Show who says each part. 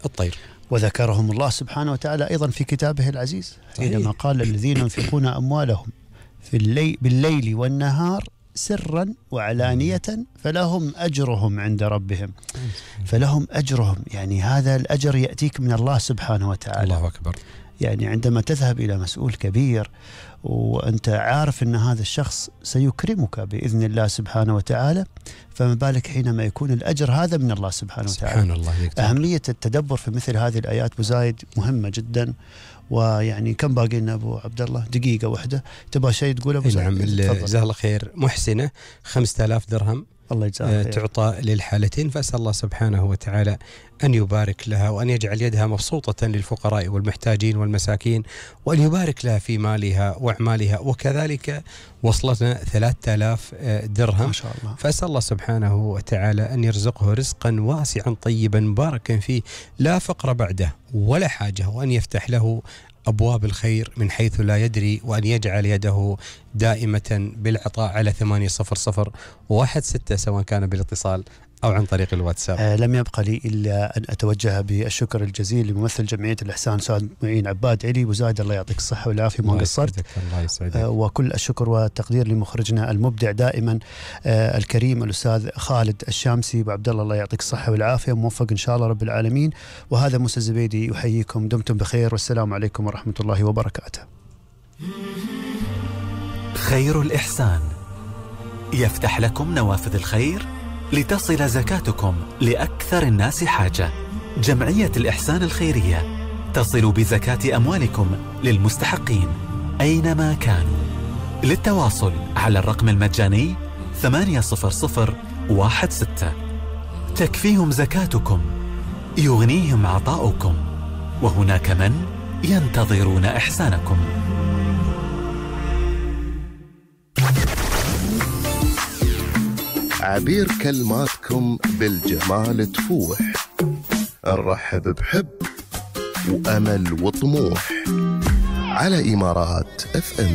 Speaker 1: الطير.
Speaker 2: وذكرهم الله سبحانه وتعالى أيضا في كتابه العزيز حينما قال الذين ينفقون أموالهم بالليل والنهار سرا وعلانية فلهم أجرهم عند ربهم. فلهم أجرهم، يعني هذا الأجر يأتيك من الله سبحانه وتعالى.
Speaker 1: الله أكبر.
Speaker 2: يعني عندما تذهب إلى مسؤول كبير وأنت عارف أن هذا الشخص سيكرمك بإذن الله سبحانه وتعالى، فما بالك حينما يكون الأجر هذا من الله سبحانه وتعالى.
Speaker 1: سبحان الله.
Speaker 2: أهمية التدبر في مثل هذه الآيات أبو زايد مهمة جدا. ويعني كم باقي لنا أبو عبد الله؟ دقيقة واحدة. تبغى شيء تقول أبو زايد؟
Speaker 1: نعم. جزاه الله خير. محسنة 5000 درهم
Speaker 2: الله يجزاها خير.
Speaker 1: تعطى للحالتين، فأسأل الله سبحانه وتعالى أن يبارك لها وأن يجعل يدها مبسوطة للفقراء والمحتاجين والمساكين، وأن يبارك لها في مالها وأعمالها. وكذلك وصلتنا 3000 درهم
Speaker 2: ما شاء الله.
Speaker 1: فأسأل الله سبحانه وتعالى أن يرزقه رزقا واسعا طيبا مباركا فيه لا فقر بعده ولا حاجة، وأن يفتح له أبواب الخير من حيث لا يدري، وأن يجعل يده دائمة بالعطاء على 800-16 سواء كان بالاتصال أو عن طريق الواتساب.
Speaker 2: لم يبقى لي إلا أن أتوجه بالشكر الجزيل لممثل جمعية الإحسان أستاذ معين عباد علي. وزايد الله يعطيك الصحة والعافية، ما قصرت.
Speaker 1: الله يسعدك.
Speaker 2: وكل الشكر والتقدير لمخرجنا المبدع دائما الكريم الأستاذ خالد الشامسي. وعبد الله يعطيك الصحة والعافية، موفق إن شاء الله رب العالمين. وهذا موسى الزبيدي يحييكم، دمتم بخير، والسلام عليكم ورحمة الله وبركاته.
Speaker 3: خير الإحسان يفتح لكم نوافذ الخير لتصل زكاتكم لأكثر الناس حاجة. جمعية الإحسان الخيرية تصل بزكاة أموالكم للمستحقين أينما كانوا. للتواصل على الرقم المجاني 80016. تكفيهم زكاتكم، يغنيهم عطاؤكم، وهناك من ينتظرون إحسانكم.
Speaker 4: عبير كلماتكم بالجمال تفوح، نرحب بحب وأمل وطموح على إمارات FM.